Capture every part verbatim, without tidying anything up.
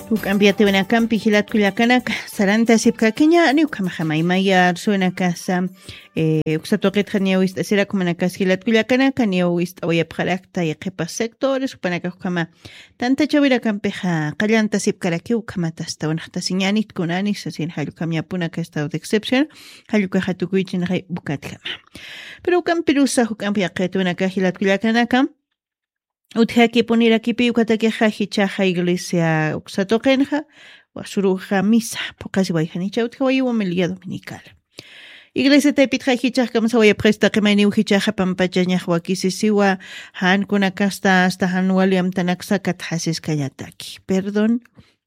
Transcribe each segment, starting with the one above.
Juk'ampi yatiwinakampi jilatkullakanaka, sarantasipkakiña, niwkamaxamaymaya arsuwinakasa. Uksatuqitxa niyaw ist'asirakumanakas jilatkullakanaka, niyaw ist'awayapxarakta yaqhipa sectores jupanakaxkama. Tantachawirakampixa qallantasipkarakiw ukhamatasta winaxtasiñanit kunani sasin jallukam yapuna ka estado de excepción. Jallukaxa tukuychinxay ukatkama. Pero ukampirusa juk'ampi yaqhitwinaka jilatkullakanaka, utjakipunirakipi ukatakixa jichaxa iglesia uksatuqinxa, wasuruxa misa phuqasiwayjanicha utjawayiw homilía dominical. Iglesia taypitxa jichax kamsawayapxista qimayniw jichaxa pampachañax wakisisiwa, jankunakasta asta jan wali amtanaksa katxasiskañataki perdón.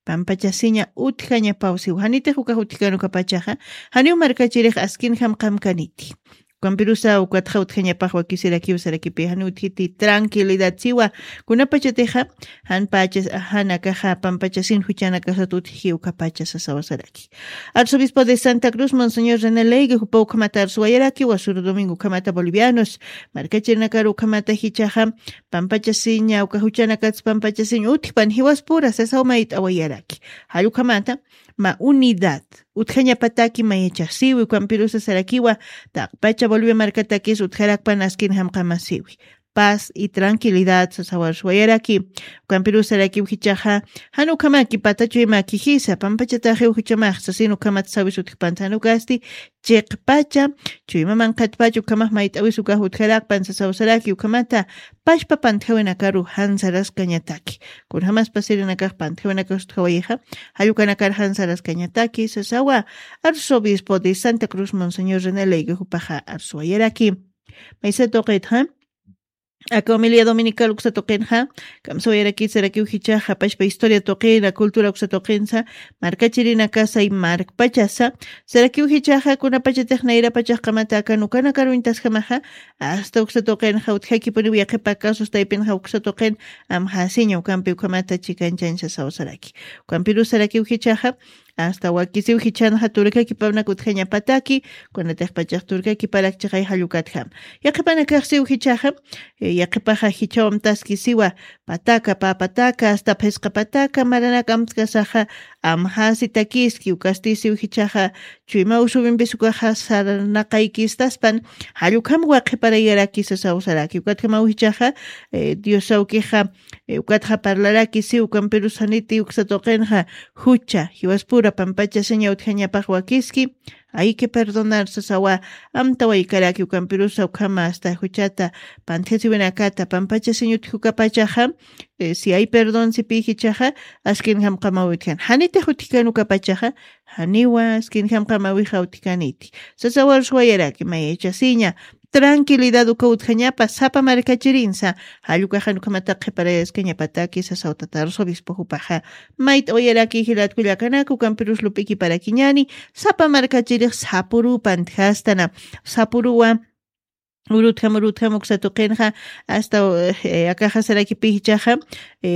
Pampachasiña utjañapawsiw janitix ukax utjkanukapachaxa, janiw markachirix askinjam qamkaniti. Ukampirusa ukatxa utjañapax wakisirakiw sarakipi janiw utjiti tranquilidad siwa. Kunapachatixa janpacha, janakaxa pampachasin juchanakasat utji ukapacha sasawa saraki. Arzobispo de Santa Cruz, Monseñor René Leigue, jupa ukhamata arsuwayaraki wasuru domingo ukhamata bolivianos markachirinakar ukhamata jichaxa pampachasiña uka juchanakats pampachasiña utjpan jiwaspura sasaw mayt'awayaraki. Jallukhamata ma unidad utjañapataki mayachasiwi ukampirusa sarakiwa, taqpacha bolivia markatakis utjarakpan askin jamqamasiwi. Paz y tranquilidad sasawarsuwayaraki. Ukampirusarakiw jichaxa, jan ukhamaki patachuymaki jisa pampachataxiw juchamax sasin ukhamat sawis utjpanta jan ukasti, chiqpacha chuyma manqhatpacha ukhamax mayt'awis ukax utjarakpan sasawsaraki ukhamata. Pachpa pantjawinakaru jansaraskañataki. Kunjamas pasirinakax pantjawinakas utjawayixa, jallukanakar jansaraskañataki sasawa. Arzobispo de Santa Cruz, Monseñor René Leigue jupaxa arsuwayaraki. Maysa tuqitxa, aka homilia dominical uksa tuqinxa, kamsawayaraki sarakiw jichaxa pachpa historia tuqina cultura uksa tuqinsa, markachirinakasay markpachasa, sarakiw jichaxa kunapachatix nayrapachaxkamata aka nukanakaruñtasjamaxa, asta uksa tuqinxa utjakipuniw yaqhipa kasus taypinxa uksa tuqin, amjasiña ukampi ukhamata chikanchancha sawsaraki. Ukampirusarakiw jichaxa, asta wakisiw jichanxa turkakipawnak utjañapataki, kunatixpachax turkakiparakchixay jallukatjam. Yaqhipanakaxsiw jichaxa, yaqhipaxa jichawamtaskisiwa, pataka pä pataka asta phisqa pataka maranak amtkasaxa, amjasitakiski ukastisiw jichaxa, chuymaw subimpis ukaxa sarnaqaykistaspan, jallukham waqhiparayaraki sasawsaraki ukatjamaw jichaxa, diosawkixa, ukatxa parlaraki si ukampirusaniti uksa tuqinxa, jucha jiwaspura pampachasiña utjañapax wakiski, ayki perdonar sasawa. Amtawaykaraki ukampirusa ukhama asta juchata pantjasiwinakata pampachasiña utjukapachaxa, si ay perdon sipi jichaxa, askin jamqamaw utjan janitix utjkanukapachaxa, janiwa askin jamqamawixa utjkaniti. Sasawarsuwayaraki mayachasiña, tranquilidad uka utjañapa sapa markachirinsa, jallukaxan ukhamata qhiparayaskañapataki sasawtata arzobispo jupaxa. Mayt'awayaraki jilatkullakanak ukampirus lup'ikiparakiñani, sapa markachirix sapuru pantjastana, sapuruwa, urutjam urutjam uksa tuqinxa, asta akaxasarakipi jichaxa,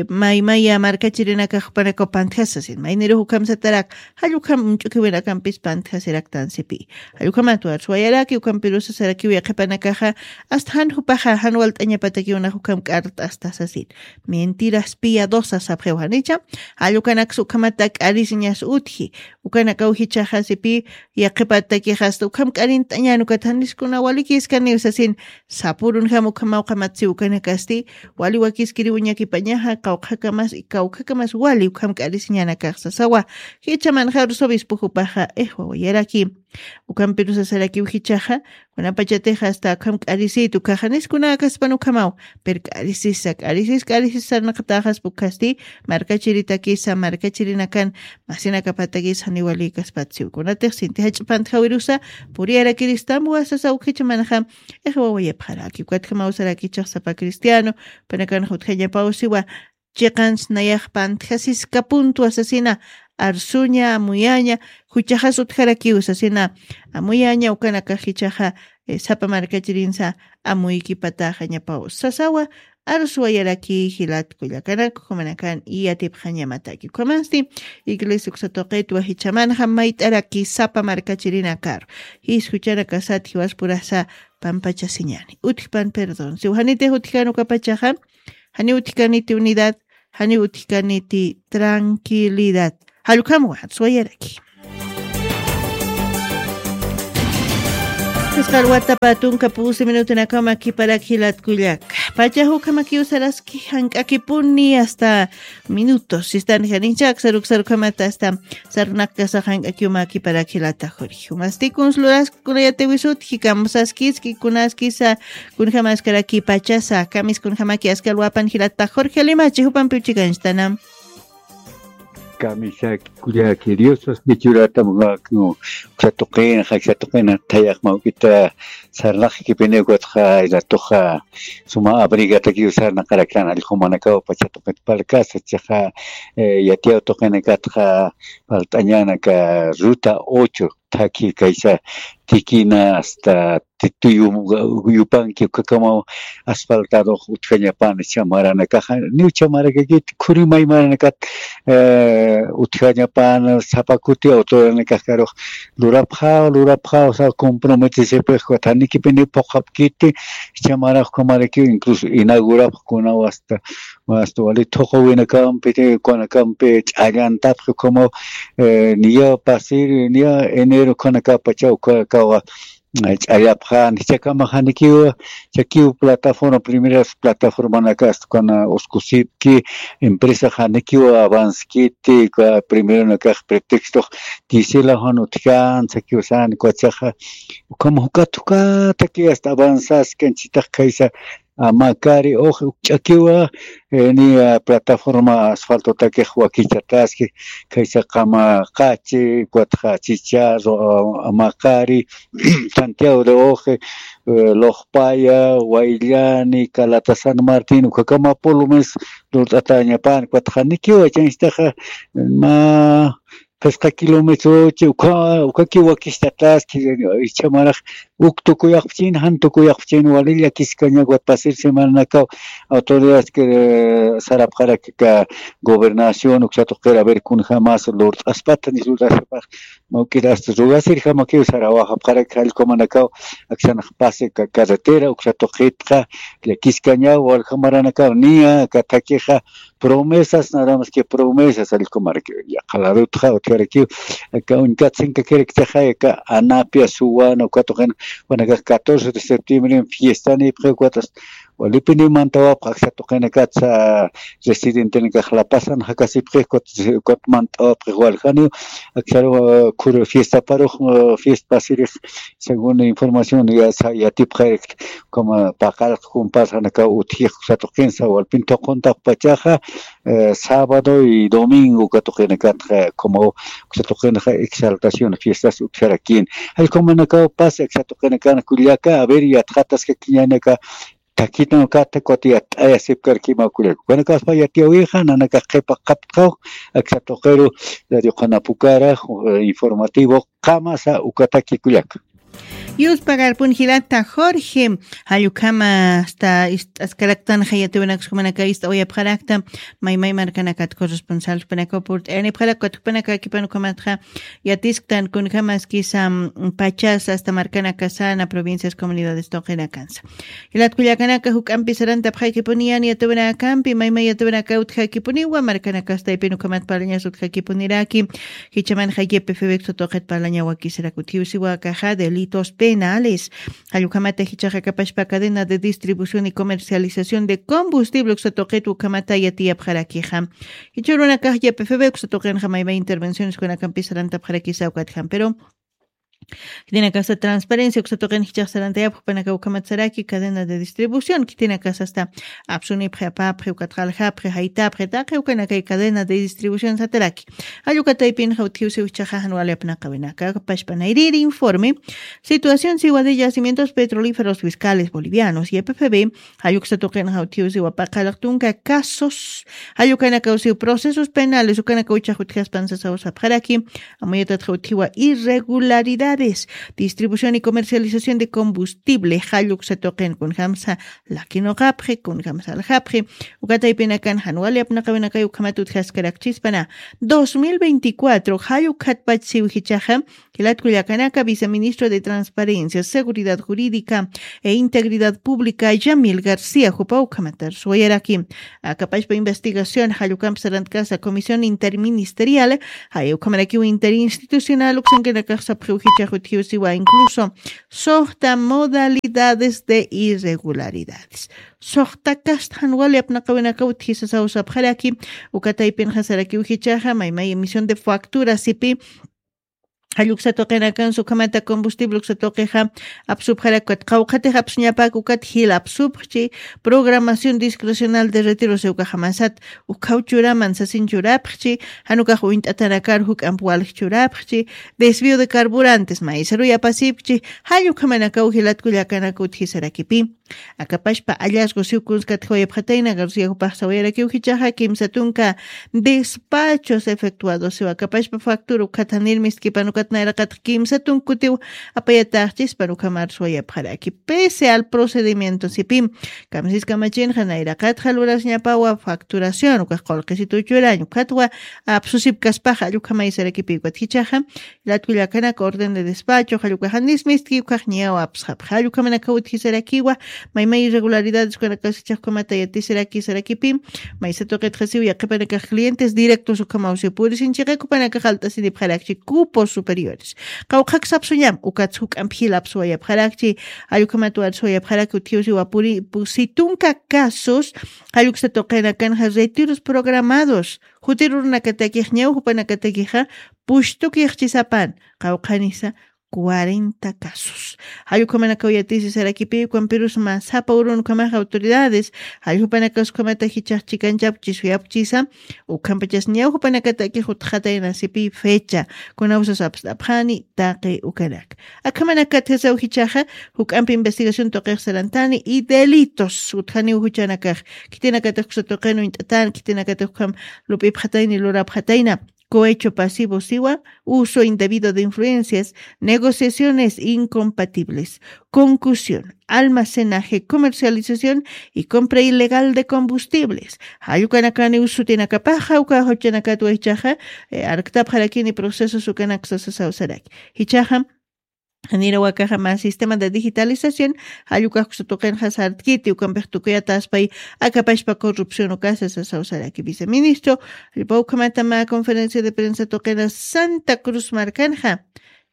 maymaya markachirinakax jupanakaw pantjasasin maynirux ukhamsatarak, jallukham ch'ukiwinakampis pantjasiraktansipi. Jallukhamat warsuwayaraki ukampirusa sarakiw yaqhipanakaxa, asta jan jupaxa jan walt'añapatakiwnax ukham k'art'asta sasin. Mentiras piadosas sapxiw janicha, jallukanaksa ukhamata k'arisiñas utji. Ukanakaw jichaxa sipi, yaqhipatakix asta ukham k'arint'añän ukat janiskuna walikiskaniw sasin, sapurunjam ukhamaw qamatsiw ukanakasti, wali wakiskiriw uñakipañaxa qawqhakamas kawkhakamas wali ukham k'arisiñanakax sasawa. Jichamanxa arzobispo jupaxa ixwawayaraki. Ukampirusa sarakiw jichaxa, kunapachatix asta ukham k'arisït ukaxa niskunäkaspan ukhamaw, pero k'arisisa k'arisis k'arisis sarnaqatäxaspa ukhasti, markachiritakisa markachirinakan masinakapatakis janiw walïkaspatsiw kunatix sinti jach'a pantjawirusa, puriyarakiristambwa sasaw jichamanxa, ixwawayapxaraki ukatjamaw sarakichax sapa cristiano, panakanxa utjañapawsiwa, chiqans nayax pantjasiskapuntwa sasina, arsuña amuyaña, juchaxas utjarakiw sasina, amuyaña ukanakax jichaxa, sapa markachirinsa, amuykipataxañapaw sasawa. Arsuwayaraki jilatkullakanak ukhamanak iyatipxañamataki ukhamasti, iglesia uksa tuqitwa jichamanxa mayt'araki sapa markachirinakar, jis juchanakasat jiwaspurasa pampachasiñani utjpan perdón siw janitix utjkanukapachaxa, janiw utjkaniti unidad, janiw utjkaniti tranquilidad. Jallukam waxat swayaraki. Isqal watapa tunka pusi minutunakama kiparak jilatkullak. Pacha jukamakiw saraski jank'akipuni hasta minutos. Sistan janinchak saruk sarukamata hasta sarunakasa jank'akiwma kiparak jilata Jorge. Umastikun sluraskuna yatiwisut jikamsaskiski kunaskisa kunjamaskaraki pachasa kamis kunjamaki askalwapan jilata Jorge Limachi jupampi uchikanchtanam. Kamisaki kullaki Diosas kichuratam uksa tuqina jaksa tuqina thayax mawk'ita sarnaq kipiniw katxa ilatuxa suma abrigatakiw sarnaqaraktan allqumanakaw pacha tuqit palkasa chaqa yatiyaw tuqinakatxa falt'añanaka ruta ocho thaki kaysa tikina hasta tituyu yupanki ukakamaw asfaltadux utjañapan chamaranakaxa niw chamarakakit khuri maymaranakat utjañapan sapakuti autoranakaxkarux lurapxaw lurapxaw sa comprometesipix kuthanikipini phuqhapkiti chamarax ukhamarakiw incluso inaugurapxkunaw hasta wali thuqu winakampi kunakampi ch'allantapxi ukhamaw niya pasir niya enero ukhanakapacha ukhakawa ch'allapxan jichakamaxanikiwa chakiw plataforma primeras plataformanaka astukana uskusipki empresaxanikiwa avanskiti primeronakax pretextox tisila jan utjan sakiw san kuchaxa ukhama jukat jukataki hasta avanzaskanchitax khaysa amakari uj ukch'akiwa niya plataforma asfaltotakix wakichataski khaysa qama qachi ukatxa chicharro amakari santiago de oje loqpaya wayllani calata san martin ukakama pulumis lurt'atañapan ukatxa nikiwa chanchitaxa ma qisqa kilometrochi uka ukakiw wakistataski ichhamarax uk tukuyaqpachin jan tukuyaqpachin wali llakiskaña ukat pasir semananakaw autoridades sarapxarakaka gobernación uksa tuqir a ver kunjamas lurt'aspata ni lurt'aspax mawk'ir hasta rugasirjamakiw sarawaxapxaraki jallkumanakaw aksanax pasi carretera uksa tuqitxa llakiskañaw waljamaranakaw niya aka thakixa promesas nada mas que promesas allkumaraki yaqha ladutxa utjarakiw aka uñkatsinkakirakchaxa aka anapia suwana uka tuqina wanakax catorce de septiembre fiesta nipxi ukatas walipini mantawapx aksa tuqinakatsa residentenakax lapasan jakasipxi ukat mantawapxi waljaniw aksaru khur fiestaparux fiesta pasirix según información yatipxayrikta como paqaraq jumpasxanakaw utjix uksa tuqinsa walpin thuquntapxpachaxa sábado y domingo uka tuqinakatxa como uksa tuqinxa exaltación fiestas utjarakin jallkumanakaw pasa uksa tuqinakana kullaka a ver yatxataskakiñanaka thakitan ukata ukat yatt'ayasipkarkima kullaka ukanakaspa yatiyawixa nanakax qhipa qhaptqaw aksa tuqiru radio qhanapukara informativo qamasa ukataki kullaka. Yuspagarpun jilata Jorge, jallukama hasta ist'askaraktan jayatiwinakskumanaka ist'awayapxarakta, maymay markanakat corresponsalpanaka purt'ayanipxarak katukpanaka kipanukamatxa yatisktan kunjamaskisa pachas hasta markanakasana provincias comunidades tuqinakansa. Jilat kullakanaka juk'ampi sarantapxakipuniyani yatiwinakampi maymay yatiwinaka utjakipuniwa markanakastaypin ukhamat parlañas utjakipuniraki. Jichaman jaykipi fibexta tuqit parlaña wakisirak utjiwsiwa akaxa delitos penales. Jallukhamata jichaxa kapashpa cadena de distribución y comercialización de combustible uksa tuqit ukhamata yatiyapxarakixa. Jichurunakax ypfb uksa tuqinxa maymay intervenciones kunakampi sarantapxarakisa ukatjam pero kitinakasa transparencia uksa tuqin jichax sarantayapxpanaka ukhamat saraki cadena de distribución kitinakasa asta apsunipxi apapxi ukatxa aljapxi jaytapxi taqi ukanakay cadena de distribución sataraki. Jallukataypinxa utjiwsiw jichaxa jan wali apnaqawinaka pashpanayriri informe situación siwa de yacimientos petrolíferos fiscales bolivianos ypfb. Jalluksa tuqinxa utjiwsiwa paqalaq tunka casos jallukanakawsiw procesos penales ukanakaw chaq utjaspan sasaw sapxaraki. Amuyatatxa utjiwa irregularidades distribución y comercialización de combustible jalluksa tuqin kunjamsa lakinoqapxi kunjamsa aljapxi. Ukataypinakan jan wali apnaqawinakay ukhamat utjaskarakchispana dos mil veinticuatro jallukhatpach siw jichaxa Jilat kullakanaka, viceministro de Transparencia, Seguridad Jurídica e Integridad Pública, Yamil García, jupaw ukhamatar suwayaraki. Akapashpa investigación jallukamp sarantkasa comisión interministerial, jay ukhamarakiw interinstitucional uksankanakax sapxiw jichax utjiw siwa incluso suxta modalidades de irregularidades. Suxta kasta jan wali apnaqawinakaw utjisasaw sapxaraki, uka taypinxa sarakiw jichaxa, maymay emisión de factura sipi, jalluksa tuqinakan sukhamata combustible uksa tuqixa, apsupxarak ukat qawqhatix apsuñapak ukat jil apsupxchi, programación discrecional de retiro siwkaxamasat, ukhaw churaman sasin churapxchi, janukax uñt'atanakar juk'amp walj churapxchi, desvío de carburantes, maysaruy apasipxchi, jallukhamanakaw jilat kullakanaka utjisarakipi. Akapashpa hallazgo siw kunskatjawayapxatayna García jupax sawayarakiw jichaxa kimsa tunka despachos efectuados siwa akapashpa factura ukhathanir mistkipan ukat nayraqatx kimsa tunkutiw apayataxchispan ukhamar suwayapxaraki. Pese al procedimiento sipi, kamsis kamachinxa nayraqatxa lurasñapawa facturación ukax qullqisitu churañ ukatwa apsusipkaspaxa allukhamay sarakipi ukat jichaxa, Latkullakanaka orden de despacho, jallukaxanis mistki ukaxñaw apsxapxa. Jallukamanaka utjisarakiwa, maymay irregularidades ukanakasichax ukamata yatisaraki sarakipi, maysa tuqitxasiw yaqhipanakax clientes directos ukhamaw siw purisinchiqa kupanakax alt'asinipxarakchi cupos superiores. Qawqhak sapsuñam, ukats juk'amp jilap suwayapxarakchi, jallukamat war suwayapxaraki utjiw siwa puri, pu-, si tunka casos, jalluksa tuqinakanxa retiros programados, jutirurunakatakix ñaw jupanakatakixa, pushtukix chisapan, qawqhanisa cuarenta casos. Jallukhamanakaw yatisi sarakipi, ukampirus mä sapa urun ukhamax autoridades, jallukhanakaskhamata jichax chikanchapchi suyapchisa, ukhampachas ñaw jupanakatakix utxatayna sipi fecha, kunawsas apst'apxani taqi ukanak. Akhamanakat jasaw jichaxa, juk'ampi investigación tuqix sarantani, y delitos, utjaniw juchanakax, khitinakatix uksa tuqin uñt'atan, khitinakatix ukham lup'ipxatayni, lurapxatayna. Cohecho pasivo siwa, uso indebido de influencias, negociaciones incompatibles, concusión, almacenaje, comercialización y compra ilegal de combustibles. Jallukanakan usutinakapaxa, uka juchanakatwa jichaxa, eh, arktapxarakini procesos ukanaksa sasaw saraki. Jichaxa, Janira wakaxa mä sistema de digitalización, jallukax uksa tuqinxa sartkiti, ukampix tukuyataspay, akapashpa corrupción ukasa sasaw saraki viceministro, jallpa ukhamata mä conferencia de prensa tuqina Santa Cruz markanxa,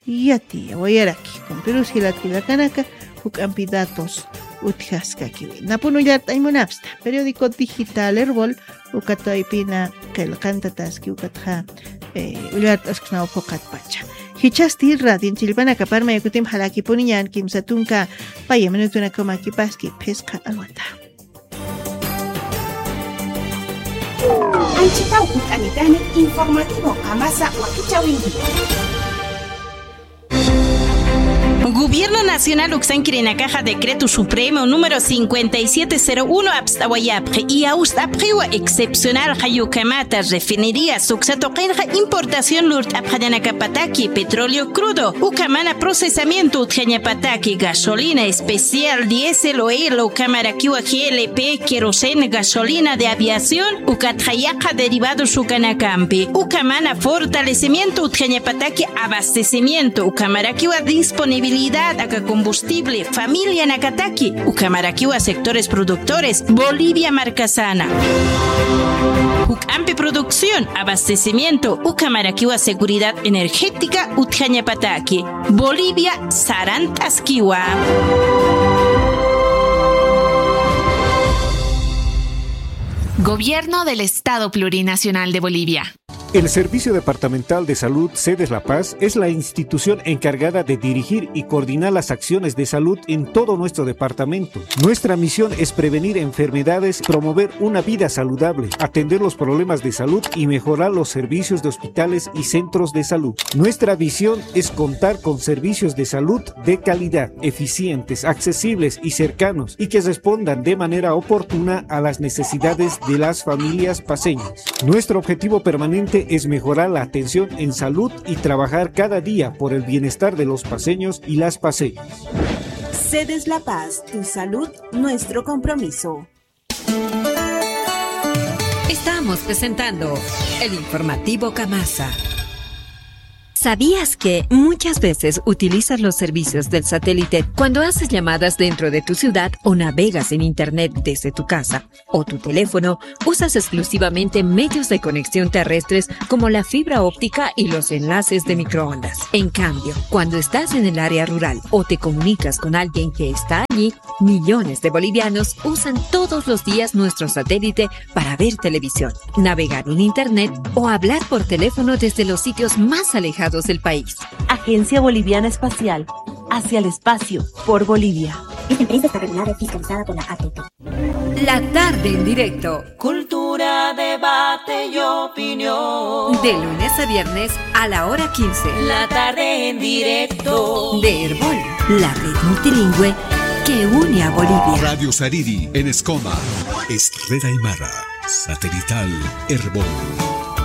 yatiyawayaraki, ukampirus jilat kullakanaka, juk'ampi datos utjaskakiwi. Napun ullart'añ munapsta, periódico digital Erbol, uka taypina qillqantataski ukatxa, eh, ullart'asksnaw phuqatpacha. Jichhasti radion chillpanakaparmay kutim jalakipuniñan kimsa tunka paya minutunakamakipaski phisqa alwata. Anchitaw utanitani informativo amasa wakichawinki. Gobierno Nacional uksankirinakaxa Decreto Supremo número cincuenta y siete cero uno apst'awayapxi, y awst'apxiwa excepcional jayukamata refinería suksa tuqinxa importación lurt'apxañanakapataki petróleo crudo, ukamana procesamiento utjañapataki gasolina especial, diésel, oil, ukamarakiwa G L P, queroseno, gasolina de aviación, ukatxa yaqa derivados ukanakampi, ukamana fortalecimiento utjañapataki abastecimiento, ukamarakiwa disponibilidad aka combustible, familianakataki, ukamarakiwa sectores productores, Bolivia markasana. Juk'ampi producción, abastecimiento, ukamarakiwa seguridad energética, utjañapataki. Bolivia, sarant'askiwa. Gobierno del Estado Plurinacional de Bolivia. El Servicio Departamental de Salud Sedes La Paz es la institución encargada de dirigir y coordinar las acciones de salud en todo nuestro departamento. Nuestra misión es prevenir enfermedades, promover una vida saludable, atender los problemas de salud y mejorar los servicios de hospitales y centros de salud. Nuestra visión es contar con servicios de salud de calidad, eficientes, accesibles y cercanos, y que respondan de manera oportuna a las necesidades de las familias paceñas. Nuestro objetivo permanente es mejorar la atención en salud y trabajar cada día por el bienestar de los paceños y las paceñas. Sedes La Paz, tu salud, nuestro compromiso. Estamos presentando el informativo Kamasa. ¿Sabías que muchas veces utilizas los servicios del satélite cuando haces llamadas dentro de tu ciudad o navegas en Internet desde tu casa o tu teléfono? Usas exclusivamente medios de conexión terrestres como la fibra óptica y los enlaces de microondas. En cambio, cuando estás en el área rural o te comunicas con alguien que está allí, millones de bolivianos usan todos los días nuestro satélite para ver televisión, navegar en Internet o hablar por teléfono desde los sitios más alejados del país. Agencia Boliviana Espacial, hacia el espacio, por Bolivia. Esta empresa está regulada y fiscalizada por la A T T. La tarde en directo. Cultura, debate y opinión. De lunes a viernes a la hora quince. La tarde en directo. De Erbol, la red multilingüe que une a Bolivia. Radio Sariri en Escoma. Es Red Aymara. Satelital Erbol.